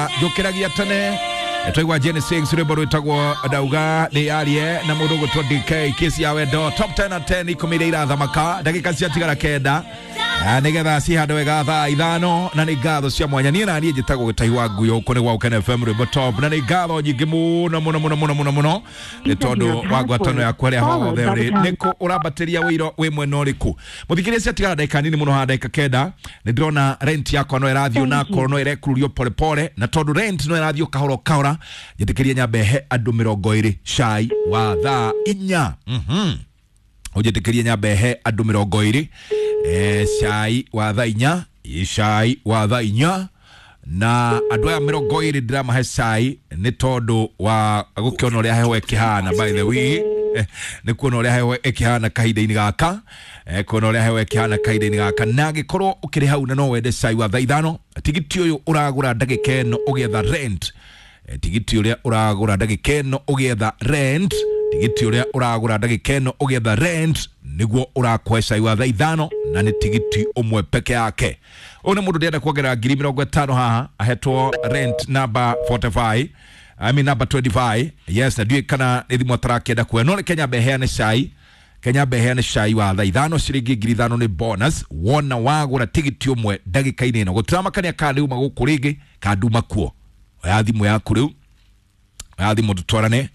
Ndauga njũkĩragia tene. Twaigua Jenny Sings rwĩmbo rwĩtagwo Ndauga nĩ yarie na mũndũ ũgwĩtwo DK kesi ya wendo top 10 at 10 ikũmi iria irathamaka ndagĩka ciatigara kenda. Nĩgetha cihandwe wega thaa ithano na nĩ ngatho cia mwanya. Niĩ na niĩ njĩtagwo Gĩtahi wa Nguyo gũkũ nĩ gwa Ũkene FM rwĩmbo top, na nĩ ngatho nyingĩ mũno mũno mũno mũno mũno mũno nĩ tondũ wa ngwatano yaku harĩa hothe ũrĩ. Nĩkũ ũrambatĩria wĩiro wĩ mwena ũrĩkũ? Mũthikĩrĩria, ciatigara ndagĩka nini mũno haha, ndagĩka kenda. Nĩ ndĩrona rent yakwa no ĩrathiĩ onakorwo no ĩrekururio polepole, na tondũ rent no ĩrathiĩ kahora kahora, njĩtĩkĩrie nyambe he andũ 20 cai wa thaa inya. Ũnjĩtĩkĩrie nyambe he andũ 20 cai wa thaa inya, cai wa thaa inya. Na andũ aya 20 ndĩramahe cai nĩ tondũ wa gũkĩona ũrĩa heho ĩkĩhana. By the way, nĩ kuona ũrĩa heho ĩkĩhana kahinda-inĩ gaka, kuona ũrĩa heho ĩkĩhana kahinda-inĩ gaka. Na angĩkorwo ũkĩrĩ hau na no wende cai wa thaa ithano, tigiti ũyũ ũragũra ndagĩka ĩno ũgĩetha rent, tigiti ũrĩa ũragũra ndagĩka ĩno ũgĩetha rent, tigiti ũrĩa ũragũra ndagĩka ĩno ũgĩetha rent nĩguo ũrakũhe cai wa thaa ithano, na nĩ tigiti ũmwe peke yake. Ũyũ nĩ mũndũ ndĩrenda kuongerera 50,000 haha, ahetwo rent number 45, I mean number 25. Yes, na ndiũĩ kana nĩ thimũ atarakĩenda kuoya, no reke nyambe heane cai. Kenya mbe heane cai wa thaa ithano, ciringi 5,000 nĩ bonus wona wagũra tigiti ũmwe ndagĩka-inĩ ĩno. Gũtiramakania kana nĩ uma gũkũ rĩngĩ kana nduma kuo. Oya thimũ yaku rĩu, oya thimũ tũtwarane.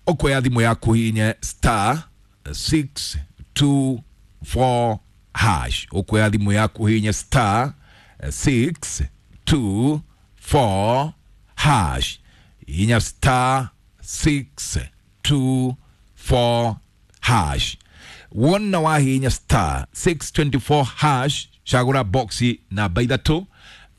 Ũkuoya thimũ yaku hihinye star 624 hash. Ũkuoya thimũ yaku hihinye star 624 hash, hihinya star 624 hash. Wona wahihinya star 624 hash, cagũra boxi namba ithatũ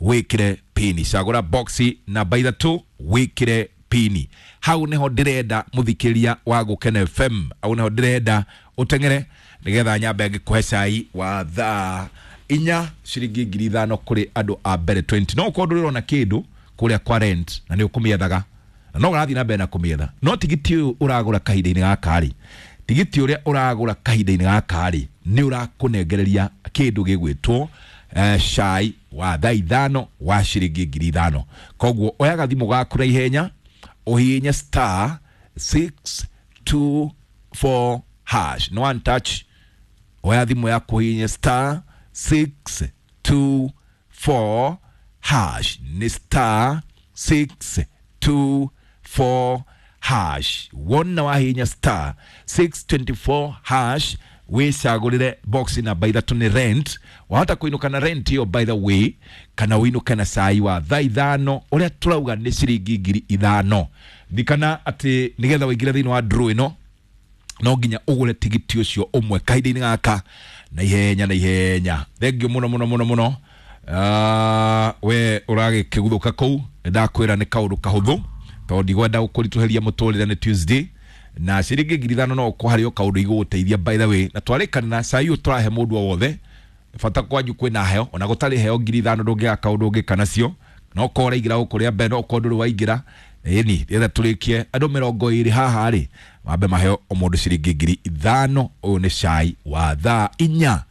wĩkĩre pini. Cagũra boxi namba ithatũ wĩkĩre pini. Hau niho ndĩrenda mũthikĩria wa Gũkena FM, hau niho ndĩrenda ũteng'ere nĩgetha nyambe ngĩkũhe cai wa thaa inya, ciringi 5,000 kũrĩ andũ a mbere 20. No ũkorwo ndũrĩrona kĩndũ kũrĩa kwa rent na nĩ ũkũmĩethaga na no ũrathiĩ na mbere na kũmĩetha, no tigiti ũyũ ũragũra kahinda-inĩ gaka rĩ, tigiti ũrĩa ũragũra kahinda-inĩ gaka rĩ, nĩ ũrakũnengereria kĩndũ gĩgwĩtwo cai wa thaa ithano wa ciringi 5,000. Koguo oya gathimũ gaku na ihenya ũhihinye star 624 hash, no one touch. Oya thimũ yaku ũhihinye star 624 hash, nĩ star 624 hash. Wona wahihinya star 624 hash, wĩcagũrĩre box namba ithatũ nĩ rent. Wahota kũinũka na rent ĩyo, by the way, kana ũinũke na cai wa thaa ithano ũrĩa tũrauga nĩ ciringi 5,000. Thikana atĩ nĩgetha ũingĩre thĩinĩ wa draw ĩno no nginya ũgũre tigiti ũcio ũmwe kahinda-inĩ gaka na ihenya na ihenya. Thengiũ mũno mũno mũno mũno. We ũragĩkĩguthũka kũu, nĩndakwĩra nĩ kaũndũ kahũthũ tondũ ndigwenda gũkũritũhĩria mũtũrĩre. Nĩ Tuesday na ciringi 5,000 no ũkorwo harĩ o kaũndũ igũgũteithia, by the way. Na twarĩkanĩra cai ũyũ tũrahe mũndũ o wothe, bata kwanyu kwĩna heo, ona gũtarĩ heo 5,000 ndũngĩaga kaũndũ ũngĩka nacio. No korwo ũraingĩra gũkũ rĩa mbere, no ũkorwo ndũrĩ waingĩra ĩni, rĩetha tũrĩkie andũ 20 haha rĩ, mambe maheo o mũndũ ciringi 5,000. Ũyũ nĩ cai wa thaa inya.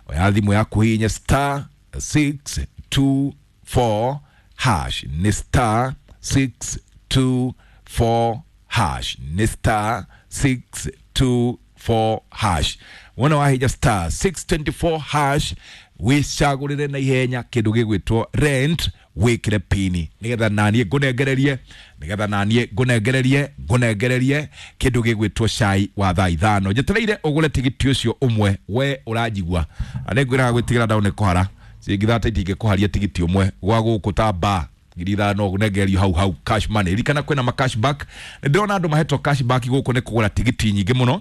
Oya thimũ yaku hihinye star 624 hash, nĩ star 624 hash, nĩ star 624 hash. Wona wahinya star 624 hash, wĩcagũrĩre na ihenya kĩndũ gĩgwĩtwo rent, wĩkĩre pini nĩgetha naniĩ ngũnengererie, nĩgetha naniĩ ngũnengererie ngũnengererie kĩndũ gĩgwĩtwo cai wa thaa ithano. Njetereire ũgũre tigiti ũcio ũmwe. We ũranjigua na nĩngwĩraga gwĩtigĩra ndaũ nĩ kũhara ciringi thata itingĩkũharia tigiti ũmwe gwa gũkũ ta ba 5,000 ũnengererio hau hau cash money. Ririkana kwĩna ma cashback. Nĩ ndĩrona andũ mahetwo cashback gũkũ nĩ kũgũra tigiti nyingĩ mũno.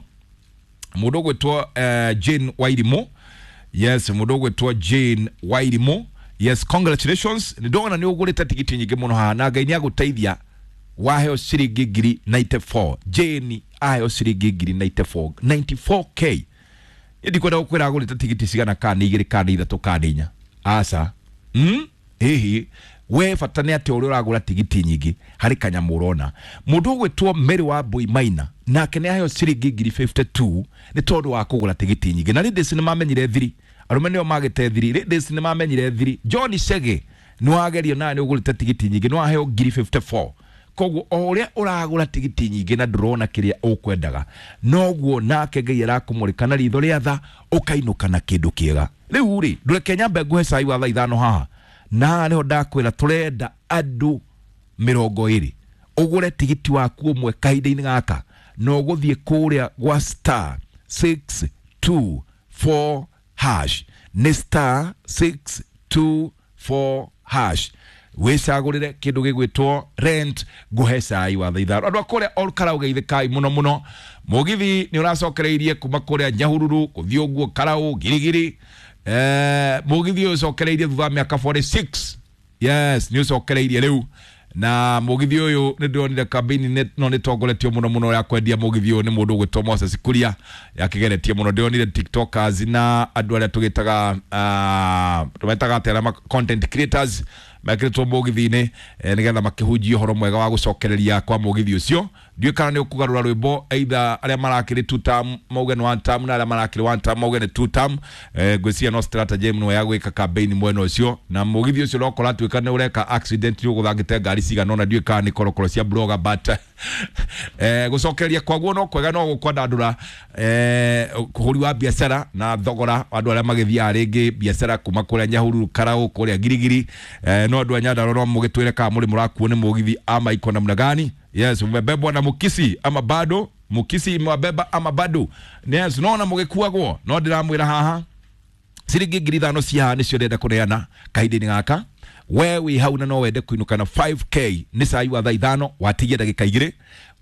Mũndũ ũgwĩtwo Jane Wairimu, yes, mũndũ ũgwĩtwo Jane Wairimu, yes, congratulations. Nĩ ndona nĩ ũgũrĩte tigiti nyingĩ mũno haha na Ngai nĩ agũteithia waheo ciringi 94,000. Jane aheo ciringi 94,000, 94K. Ndikwenda gũkwĩra agũrĩte tigiti cigana, kana nĩ igĩrĩ kana nĩ ithatũ kana nĩ inya, aca. Hihi we bata nĩ atĩ ũrĩa ũragũra tigiti nyingĩ harĩ kanyamũ ũrona. Mũndũ ũgwĩtwo Mary wa Mbui Maina nake nĩ aheo ciringi 52,000 nĩ tondũ wa kũgũra tigiti nyingĩ. Na ladies nĩ mamenyire thiri, arũme nĩo magĩte thiri, ladies nĩ mamenyire thiri. John Chege Nĩwagerio nawe nĩũgũrĩte tigiti nyingĩ, nĩwaheo ngiri 54. Koguo o ũrĩa ũragũra tigiti nyingĩ na ndũrona kĩrĩa ũkwendaga, noguo nake Ngai arakũmũrĩka na ritho rĩa tha, ũkainũka na kĩndũ kĩega. Rĩu rĩ, ndũreke nyambe nguhe cai wa thaa 5 haha, na haha nĩho ndakwĩra tũrenda andũ 20 ũgũre tigiti waku ũmwe kahinda-inĩ gaka, na ũgũthiĩ kũrĩa gwa star 624 hash, nĩ star 624 hash, wĩcagũrĩre kĩndũ gĩgwĩtwo rent, ngũhe cai wa thaa 5. Andũ a kũrĩa Ol Kalou geithĩkai mũno mũno. Mũgithi nĩ ũracokereirie kuma kũrĩa Nyahururu gũthiĩ ũguo Karau Girigiri. Mũgithi ũyũ ũcokereirie thutha wa mĩaka 46. Yes, nĩ ũcokereirie rĩu, na mũgithi ũyũ nĩ ndĩronire kambĩini no nĩ tongoretio mũno mũno ya kwendia mũgithi ũyũ nĩ mũndũ ũgwĩtwo Moses Kuria, yakĩgeretie mũno. Ndĩronire tiktokers na andũ arĩa tũgĩtaga tũmetaga atĩa, arĩa content creators mekĩrĩtwo mũgithi-inĩ, nĩgetha makĩhunjia ũhoro mwega wa gũcokereria kwa mũgithi ũcio. Ndiũĩ kana nĩ ũkũgarũra rwĩmbo, either arĩa marakĩrĩ two term mauge nĩ one term, na arĩa marakĩrĩ one term mauge nĩ two term. Ngwĩciria no strategy ĩmwe ya gwĩka campaign mwena ũcio, na mũgithi ũcio no ũratuĩka nĩ ũreka accident, nĩ ũgũthangĩte ngari cigana ũna, ndiũĩ kana nĩ korokoro cia blogger, but gũcokereria kwaguo no kwega, no gũkwandandũra ũhũri wa biacara na thogora wa andũ arĩa magĩthiaga rĩngĩ biacara kuma kũrĩa Nyahururu, Karau, kũrĩa Girigiri. No andũ a Nyandarua no mũgĩtwĩre kana mũrĩ mũrakuo nĩ mũgithi ama iko namna gani. Yes, umebebwa na mukisi ama bado? Mukisi imewabeba ama bado? Yes, nona mũgĩkuagwo, no ndĩramwĩra haha ciringi 5,000 cia haha nĩcio ndĩrenda kũneana kahinda-inĩ gaka. We wĩ hau na no wende kũinũka na 5K, nĩ cai wa thaa 5, watigia ndagĩka 2,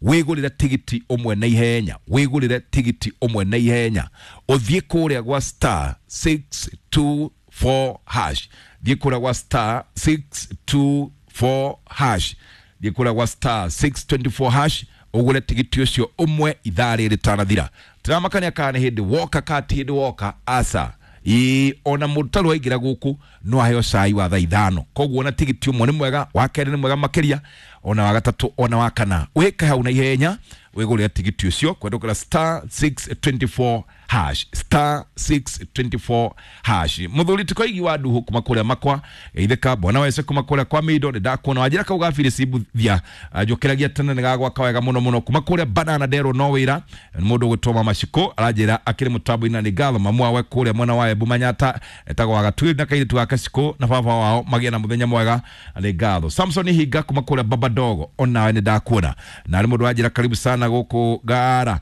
wĩgũrĩre tigiti ũmwe na ihenya, wĩgũrĩre tigiti ũmwe na ihenya, ũthiĩ kũrĩa gwa star 624 hash, thiĩ kũrĩa gwa star 624 hash, thiĩ kũrĩa gwa star 624 hash, ũgũre tigiti ũcio ũmwe ithaa rĩrĩ rĩtanathira. Tũramakania kana nĩ hĩndĩ woka kana ti hĩndĩ woka, aca. Ĩĩ, ona mũndũ tarĩ waingĩra gũkũ no aheo cai wa thaa 5. Koguo ona tigiti ũmwe nĩ mwega, wa kerĩ nĩ mwega makĩria, ona wa gatatũ, ona wa kana. Wĩke hau na ihenya wĩgũrĩre tigiti ũcio kwendũkĩra star 624 hash, star 624 hash. Mũthuri tikoigi wa nduhu kuma kũrĩa makwa geithĩka, bwana wese kuma kũrĩa kwa mindo, nĩ ndakuona wanjĩra kau ga Phyllis Mbuthia, njũkĩragia tene nĩ gagwaka wega mũno mũno. Kuma kũrĩa Banana Ndero no wĩra nĩ mũndũ ũgwĩtwo Mama Shiko aranjĩra akĩrĩ mũtambo-inĩ, na nĩ ngatho mamu wawe kũrĩa mwena wa Embu Manyata etagwo wa Gatwiri na kairĩtu gake Shiko na baba wao magĩe na mũthenya mwega, nĩ ngatho. Samson Hinga kuma kũrĩa Baba Dogo, onawe nĩ ndakuona, na nĩ mũndũ wanjĩra karibu sana gũkũ Ngara,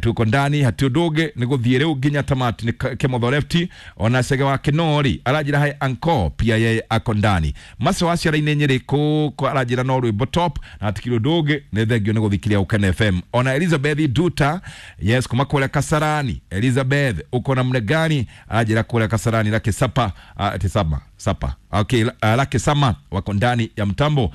tuko ndani hati ũndũ ũngĩ nĩ gũthiĩ rĩu nginya tamati. Nĩ Kĩmotho left, ona Cege wa Kĩnori aranjĩra hai anko pia yeye ako ndani. Macio wa ciara-inĩ Nyĩrĩ kũ aranjĩra no rwĩmbo top, na hatikĩrĩ ũndũ ũngĩ nĩ thengio nĩ gũthikiria Ũkene FM. Ona Elizabeth Duta, yes, kuma kũrĩa Kasarani. Elizabeth uko namna gani? Aranjĩra kũrĩa Kasarani lake sapa, tisama sapa, okay, lake sama wako ndani ya mtambo.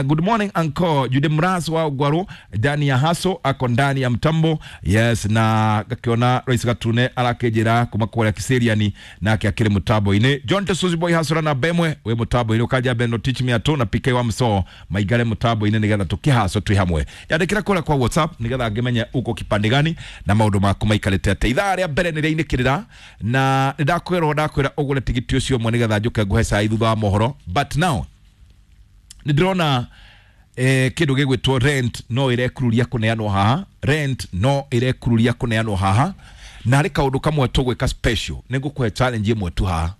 Good morning uncle Jude Mras wa Ugwaru ndani ya haso ako ndani ya mtambo. Yes, na gakiona Rais Gatune arakejera kuma kũrĩa Kiseriani nake akĩrĩ mũtambo-inĩ. John Tesuzi boy hasura na bemwe we mũtambo-inĩ, ukaja beno teach me ato na PK wa mso maigare mũtambo-inĩ nĩgetha tũkĩhaco twĩ hamwe. Yandĩkĩra kũrĩa kwa WhatsApp nĩgetha ngĩmenye uko kipande gani na maũndũ maku maikarĩte atĩa. Ithaa rĩa mbere nĩ rĩainĩkĩrĩra na nĩ ndakwĩra ũgũre tigiti ũcio ũmwe nĩgetha njũke ngũhe cai thutha wa mohoro. But now nĩ ndĩrona kĩndũ gĩgwĩtwo rent no ĩrekururia kũneanwo haha, rent no ĩrekururia kũneanwo haha, na harĩ kaũndũ kamwe tũgwĩka special, nĩ ngũkũhe challenge ĩmwe tu haha.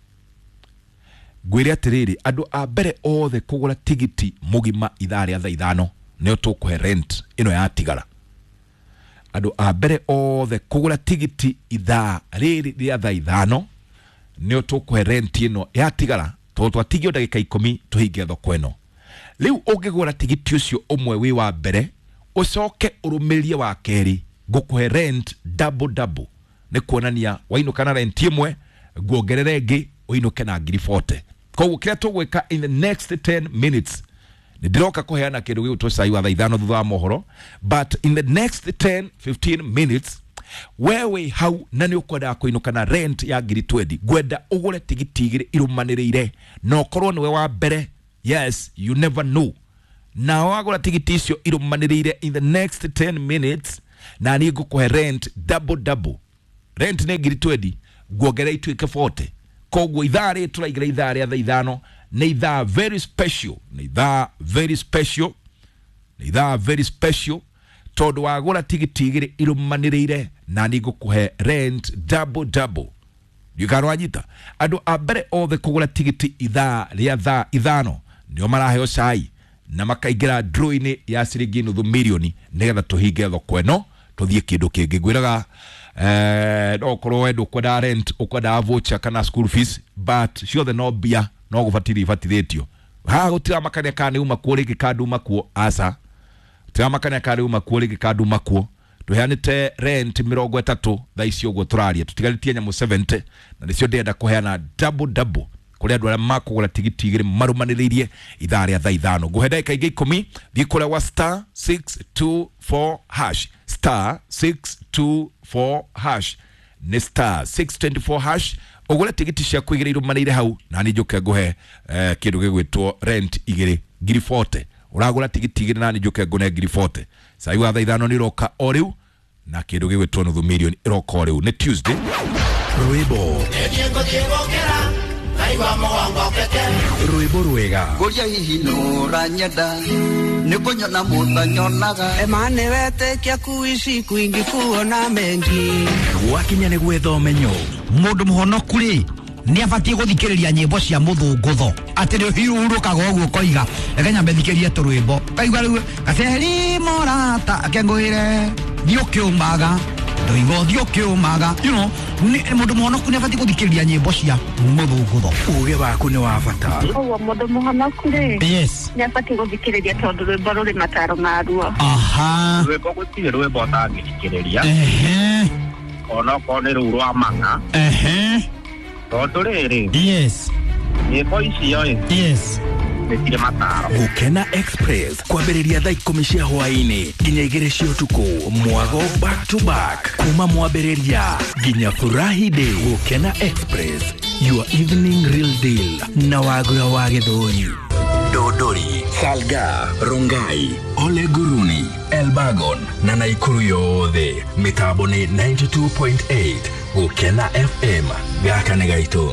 Ngwĩre atĩrĩrĩ, andũ a mbere othe kũgũra tigiti mũgima ithaa rĩa thaa 5 nĩo tũkũhe rent ĩno yatigara. Andũ a mbere othe kũgũra tigiti ithaa rĩrĩ rĩa thaa 5 nĩo tũkũhe rent ĩno yatigara, tondũ twatigio ndagĩka 10 tũhinge thoko ĩno. Rĩu ũngĩgũra tigiti ũcio ũmwe wĩ wa mbere, ũcoke ũrũmĩrĩrie wa kerĩ, ngũkũhe rent double double, nĩ kuonania wainũka na rent ĩmwe nguongerere ĩngĩ ũinũke na ngiri 40. Koguo kĩrĩa tũgwĩka in the next 10 minutes, nĩ ndĩroka kũheana kĩndũ gĩgwĩtwo cai wa thaa 5 thutha wa mohoro, but in the next 10-15 minutes we wĩ hau na nĩ ũkwendaga kũinũka na rent ya ngiri 20, ngwenda ũgũre tigiti 2 irũmanĩrĩire, na ũkorwo nĩwe wa mbere. Yes, you never know. Na wagũra tigiti icio irũmanĩrĩire in the next 10 minutes, na niĩ ngũkũhe rent double double. Rent nĩ ngiri 20, nguongerera ituĩke 40. Koguo ithaa rĩrĩ tũraingĩra ithaa rĩa thaa 5 Nĩ ithaa very special, nĩ ithaa very special, nĩ ithaa very special, tondũ wagũra tigiti igĩrĩ irũmanĩrĩire na nĩ ngũkũhe rent double double. Ndiũkanwanyita andũ a mbere othe kũgũra tigiti ithaa rĩa thaa 5 nĩo maraheo cai na makaingĩra draw-inĩ ya ciringi 500,000 nĩgetha tũhinge thoko ĩno tũthiĩ kĩndũ kĩngĩ. Ngwĩraga no ũkorwo we ndũkwendaga rent, ũkwendaga voucher kana school fees, but ciothe no mbia no gũbatithio ibatithĩtio. Haha gũtiramakania kana nĩ uma kuo rĩngĩ kana nduma kuo, aca, gũtiramakania kana nĩ uma kuo rĩngĩ kana nduma kuo. Tũheanĩte rent 30 thaa ici ũguo tũraria, tũtigarĩtie nyamũ 70 na nĩcio ndĩrenda kũheana double double kũrĩ andũ arĩa makũgũra tigiti igĩrĩ marũmanĩrĩirie ithaa rĩa thaa 5. Ngũhe ndagĩka ingĩ 10, thiĩ kũrĩa wa star 624 hash, star 624 hash, nĩ star 624 hash, ũgũre tigiti ciaku igĩrĩ irũmanĩire hau na niĩ njũke ngũhe kĩndũ gĩgwĩtwo rent igĩrĩ 40,000. Ũragũra tigiti igĩrĩ na niĩ njũke ngũne 40,000. Cai wa thaa 5 nĩ ũroka o rĩu na kĩndũ gĩgwĩtwo 500,000 ĩroka o rĩu. Nĩ Tuesday. Rwĩmbo rwĩmbo rwega Ngũria hihi nũranyenda nĩ kũnyona mũtanyonaga Emane wetĩkia kuishi kwingi kuona mengi. Gwakinya nĩ gwetha ũmenyo. Mũndũ mũhonoku rĩ nĩ abatiĩ gũthikĩrĩria nyĩmbo cia mũthũngũtho atĩ nĩ ũhurũkaga ũguo ũkoiga reke nyambe thikĩrie tũrwĩmbo kaigua rĩu gaceri morata akengũĩre thiĩ ũkĩũmaga ndoiga ũthiĩ ũkĩũmaga, you know, mũndũ mũhonoku nĩ abatiĩ gũthikĩrĩria nyĩmbo cia mũthũngũtho. Uge waku nĩ wa bata. Koguo mũndũ mũhonoku rĩ, yes, nĩ abatiĩ gũthikĩrĩria tondũ rwĩmbo rũrĩ mataro maruo. Aha. Rwĩmbo gũtirĩ rwĩmbo ũtangĩthikĩrĩria. Ehe. Onokorwo nĩ rũu rwa mang'a. Ehe. Tondũ rĩrĩ, yes, nyĩmbo icio ĩ, yes, nĩ cirĩ mataro. Gũkena Express kwambĩrĩria thaa 10 cia hwaĩ-inĩ nginya 2 cia ũtukũ, mwago back to back kuma mwambĩrĩria nginya furahi day. Gũkena Express, your evening real deal na Wagura wa Gĩthũri. Dodori, Salga, Rongai, Ole Guruni, Elbagon na Naikuru yothe. Mĩtambo nĩ 92.8 Gũkena FM. Gaka nĩ gaitũ.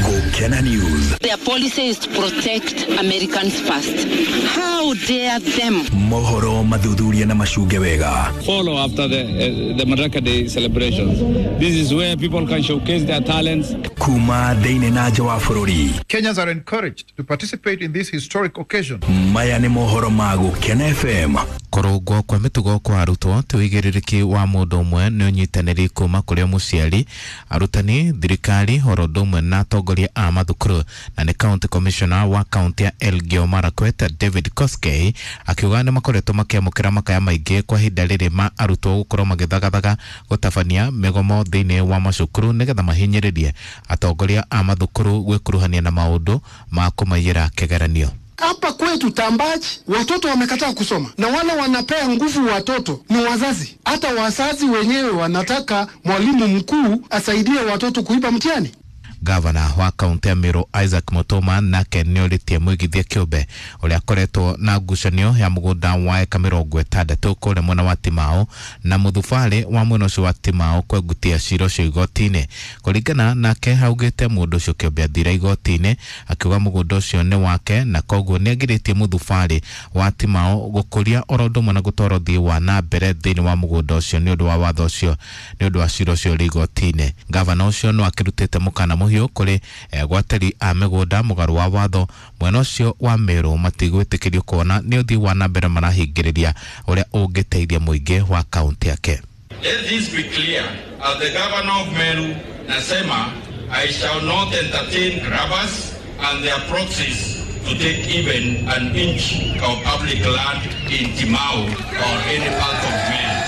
Gũkena News. Their policy is to protect Americans first. How dare them? Mohoro mathuthuria na macunge wega. Follow after the Madaraka Day celebrations. This is where people can showcase their talents. Kuma thĩinĩ na nja wa bũrũri. Kenyans are encouraged to participate in this historic occasion. Maya nĩ mohoro ma Gũkena FM. Kũrũngwo kwa mĩtugo kwa arutwo ti ũigĩrĩrĩki wa mũndũ ũmwe, nĩ ũnyitanĩri kuma kũrĩ mũciari, arutani, thirikari oro ũndũ ũmwe na atongoria a mathukuru. Na nĩ county commissioner wa county ya Elgeyo Marakwet David Koskei akiuga nĩ makoretwo makĩamũkĩra makaya maingĩ kwa ihinda rĩrĩ ma arutwo gũkorwo magĩthagathaga gũtabania mĩgomo thĩinĩ wa macukuru nĩgetha mahinyĩrĩrie atongoria a mathukuru gwĩkuruhania na maũndũ ma kũmaiyĩra kĩgeranio. Hapa kwetu Tambachi watoto wamekataa kusoma, na wale wanapea nguvu watoto ni wazazi. Hata wazazi wenyewe wanataka mwalimu mkuu asaidie watoto kuiba mtihani. Gavana wa kaunti ya Meru Isaac Mutuma nake nĩorĩtie mũigithia kĩũmbe ũrĩa akoretwo na ngucanio ya mũgũnda wa eka 60 kũrĩa mwena wa Timau na mũthubarĩ wa mwena ũcio wa Timau kwengutia cira ũcio igoti-inĩ. Kũringana nake augĩte mũndũ ũcio kĩũmbe athire igoti-inĩ akiuga mũgũnda ũcio nĩ wake na koguo nĩagirĩtie mũthubarĩ wa Timau gũkũria oro ũndũ ũmwe na gũtwara ũthii wa na mbere thĩinĩ wa mũgũnda ũcio nĩ ũndũ wa watho ũcio, nĩ ũndũ wa cira ũcio ũrĩ igoti-inĩ. Gavana ũcio no akĩrutĩte mũkana mũhiũ kũrĩ gwateri a mĩgũnda mũgarũ wa watho mwena ũcio wa Meru matigwĩtĩkĩrio kuona nĩ ũthii wa na mbere marahingĩrĩria ũrĩa ũngĩteithia mũingĩ wa kaunti yake. Let this be clear. As the governor of Meru, nasema I shall not entertain grabbers and their proxies to take even an inch of public land in Timau or any part of Meru.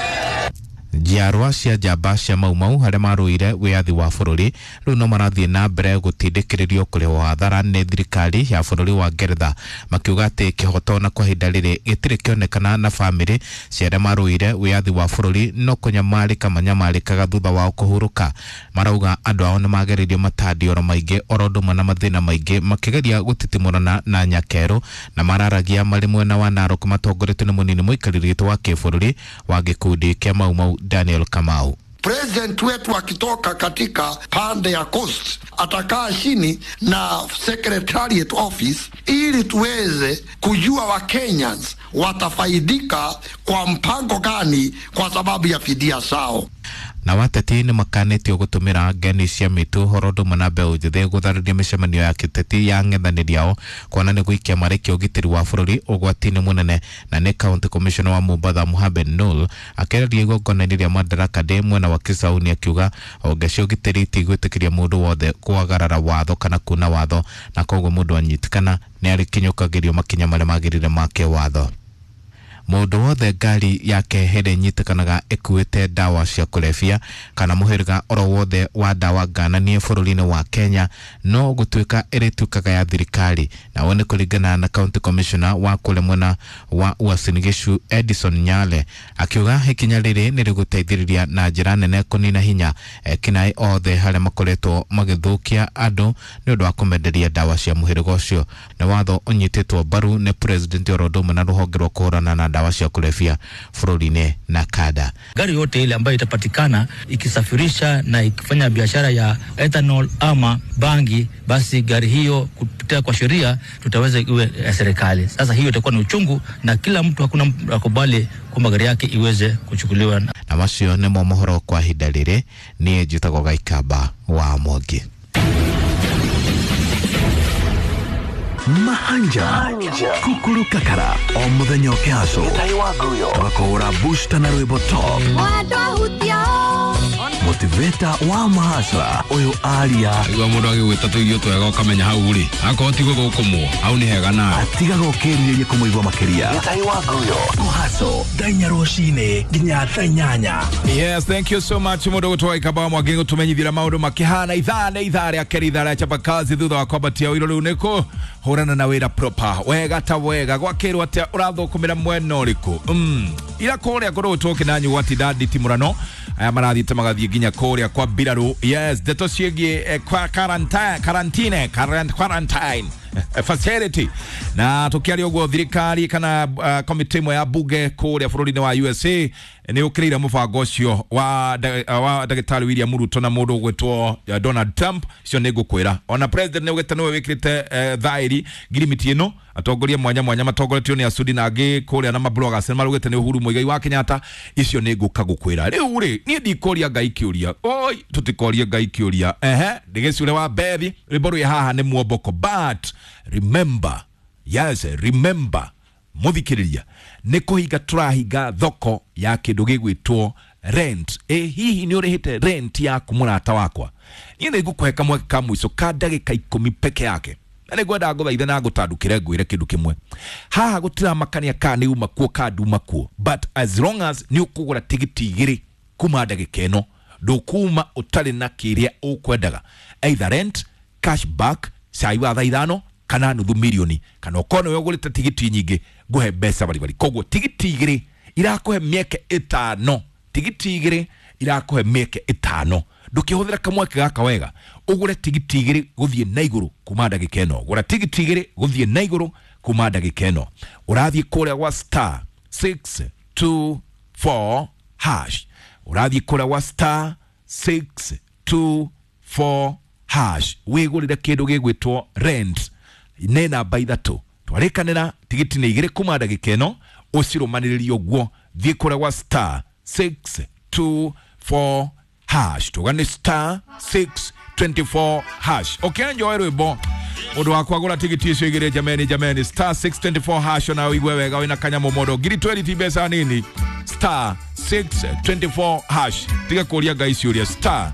Njiarwa cia njamba cia Mau Mau harĩa marũire wĩyathi wa bũrũri rĩu no marathiĩ na mbere gũtindĩkĩrĩrio kũrĩhwo hathara nĩ thirikari ya bũrũri wa Ngeretha, makiuga atĩ kĩhoto na kwa ihinda rĩrĩ gĩtirĩ kĩonekana na bamĩrĩ cia arĩa marũire wĩyathi wa bũrũri no kũnyamarĩka manyamarĩkaga thutha wao kũhurũka. Marauga andũ ao nĩ magereirio matandioro maingĩ oro ũndũ ũmwe na mathĩna maingĩ makĩgeria gũtitimũrana na nyakerũ, na mararagia marĩ mwena wa Narok matongoretio nĩ mũnini mũikarĩri gĩtĩ wa kĩbũrũri wa gĩkundi kĩa Mau Mau Daniel Kamau. President wetu akitoka katika pande ya Coast atakaa chini na Secretariat Office ili tuweze kujua wa Kenyans watafaidika kwa mpango gani kwa sababu ya fidia zao. Na wateti nĩ makanĩtio gũtũmĩra ngeni cia mĩtũ horo ũndũ ũmwe na mbeũ njĩthĩ gũtharĩria mĩcemanio ya kĩteti ya ng'ethanĩri ao kuona nĩ gũikia marĩkia ũgitĩri wa bũrũri ũgwati-inĩ mũnene. Na nĩ county commissioner wa Mombatha Mohamed Nur akĩarĩria igongona-inĩ rĩa Madaraka Day mwena wa Kisauni akiuga honge cia ũgitĩri itigwĩtĩkĩria mũndũ wothe kwagarara watho kana kuna watho, na koguo mũndũ anyitĩkana nĩ arĩkinyũkagĩrio makinya marĩa magĩrĩire ma kĩwatho. Mũndũ wothe ngari yake hĩndĩ ĩnyitĩkanaga ĩkuĩte ndawa cia kũrebia kana mũhĩrĩga oro wothe wa ndawa ngananie bũrũri-inĩ wa Kenya no gũtuĩka ĩrĩtuĩkaga ya thirikari. Na nĩ kũringana na county commissioner wa kũrĩa mwena wa Uasin Gishu Edison Nyale akiuga ikinya rĩrĩ nĩ rĩgũteithĩrĩria na njĩra nene kũnina hinya ekinaĩ othe harĩa makoretwo magĩthũkia andũ nĩ ũndũ wa kũmenderia ndawa cia mũhĩrĩga ũcio. Nĩ watho ũnyitĩtwo mbaru nĩ president oro ũndũ ũmwe na rũhonge rwa kũhũrana na dawa cia kulevya bũrũri-inĩ na kada. Gari yote ile ambayo itapatikana ikisafirisha na ikifanya biashara ya ethanol ama bangi, basi gari hiyo kupitia kwa sheria tutaweza iwe ya serikali. Sasa hiyo itakuwa ni uchungu na kila mtu, hakuna mtu akubali kwamba gari yake iweze kuchukuliwa. Na macio nĩmo mohoro kwa ihinda rĩrĩ. Niĩ njĩtagwo Gaikamba wa Mwangi. Mahanja kukuru kakara o muthenya ũkĩhaco tũgakũhũra booster na rwĩmbo top motiveta wa mahasra ũyũ aria igua mũndũ agĩgwĩta tũirio twega ũkamenya hau rĩ akorwo ti gũthũkũmwo hau nĩ hega nawe atigaga ũkĩrirĩria kũmũigua makĩria kũhaco thaa inya rũcinĩ nginya thaa inyanya. Yes, thank you so much mũndũ gũtwa Ikamba Mwangi gũtũmenyithia maũndũ makĩhana ithaa nĩ ithaa rĩa kerĩ, ithaa rĩa chapakazi thutha wa kwambatia ũiro rĩu nĩ kũhũrana na wĩra proper wega ta wega gwakĩrwo atĩa ũrathũkũmĩra mwena ũrĩkũ. Ira kũrĩa ngorwo tũkĩnanyu gwatinda nditi mũrano aya marathiĩte magathiĩ nginya kũrĩa kwa mbirarũ. Yes, ndeto ciĩgiĩ kwa quarantine facility na tukiaria ũguo thirikari kana komiti ĩmwe ya bunge kũrĩa bũrũri-inĩ wa USA nĩ ũkĩrĩire mũbango ũcio wa ndagĩtarĩ William Ruto na mũndũ ũgwĩtwo Donald Trump. Icio nĩ ngũkwĩra ona president nĩ ũgĩte nĩwe wĩkĩrĩte thaĩri ngirimiti ĩno. Atongoria mwanya mwanya matongoretio nĩ Asudi na angĩ kũrĩa na mabloggers nĩ marugĩte nĩ Uhuru Muigai wa Kenyatta. Icio nĩ ngũka gũkwĩra rĩu rĩ niĩ ndikũria Ngai kĩũria, oi tũtikorie Ngai kĩũria. Ehe, ndĩgĩcure wa Bethi rwĩmbo rwĩ haha nĩ muomboko, but remember, yes remember muthikiriria nĩ kũhinga tũrahinga thoko ya kĩndũ gĩgwĩtwo rent. Hihi nĩ ũrĩhĩte rent yaku mũrata wakwa? Niĩ nĩ ngũkũhe kamweke ka mũico ka ndagĩka 10 peke yake na nĩ ngwenda ngũthaithe na ngũtandũkĩre ngwĩre kĩndũ kĩmwe haha gũtiramakania kana nĩ uma kuo kana nduma kuo, but as long as nĩ ũkũgũra tigiti 2 kuma ndagĩka ĩno ndũkuma ũtarĩ na kĩrĩa ũkwendaga, either rent, cash back, cai wa thaa 5 kana nuthu milioni, kana ũkorwo nĩwe ũgũrĩte tigiti nyingĩ ngũhe mbeca baribari. Koguo tigiti 2 irakũhe mĩeke 5, tigiti 2 irakũhe mĩeke 5. Ndũkĩhũthĩra kamweke gaka wega ũgũre tigiti 2 gũthiĩ na igũrũ kuma ndagĩka ĩno. Gũra tigiti 2 gũthiĩ na igũrũ kuma ndagĩka ĩno. Ũrathiĩ kũrĩa gwa star 624 hash, ũrathiĩ kũrĩa gwa star 624 hash wĩgũrĩre kĩndũ gĩgwĩtwo rent nĩ namba 3. Twarĩkanĩra tigiti nĩ 2 kuma ndagĩka ĩno, ũcirũmanĩrĩrie ũguo. Thiĩ kũrĩa gwa star 624 hash, tuga nĩ star 624 hash. Ũkĩenjoy rwĩmbo mũndũ wakwa gũra tigiti icio 2 jameni, jameni, star 624 hash ona ũigue wega wĩna kanyamũ mondo ngiri 20 ti mbeca nini. Star 624 hash, tiga kũria Ngai ciũria, star